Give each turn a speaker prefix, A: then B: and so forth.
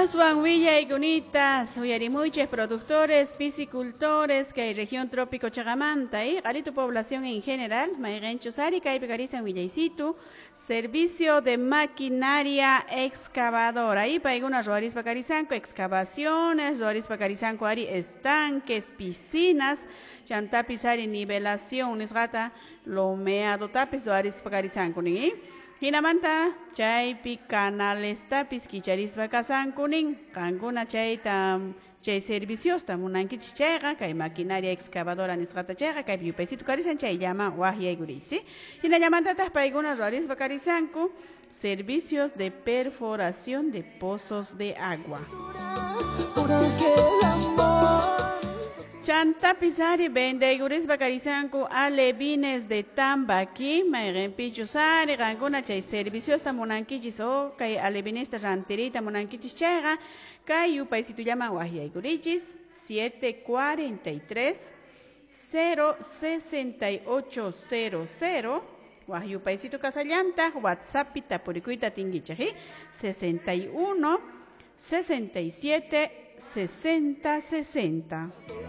A: Aswan willaykunita uyarimuychik productores, piscicultores kay región trópico chaqamanta y q'aritu población en general, mayqinchus ari kaypi karisan willaysitu, servicio de maquinaria excavadora y paykuna ruwarispa karisanku excavaciones, ruwarispa karisanku ari estanques, piscinas, chantapis ari nivelación nisqata lomeadotapis ruwarispa karisanku nin. Hinamanta chaypi canalestapis kicharispa kasanku nin, qankuna chayta chay serviciosta munankichis chayqa kay maquinaria excavadora nisqata chayqa kaypi yupaysitu karisan chayllaman waqyaykuriysi. Hinallamantataq paykuna ruwarispa karisanku servicios de perforación de pozos de agua. Chantapis ari vendeykurispa karisanku alevines de Tambaqui, mayqinpichus ari qankuna chay serviciosta munankichis o kay alevinesta rantiriyta munankichis chayqa kay yupaysitullaman waqyaykurichis 743 068 00 waq yupaysitu kasallantaq WhatsAppi tapurikuyta atinkichik 61 67 60 60.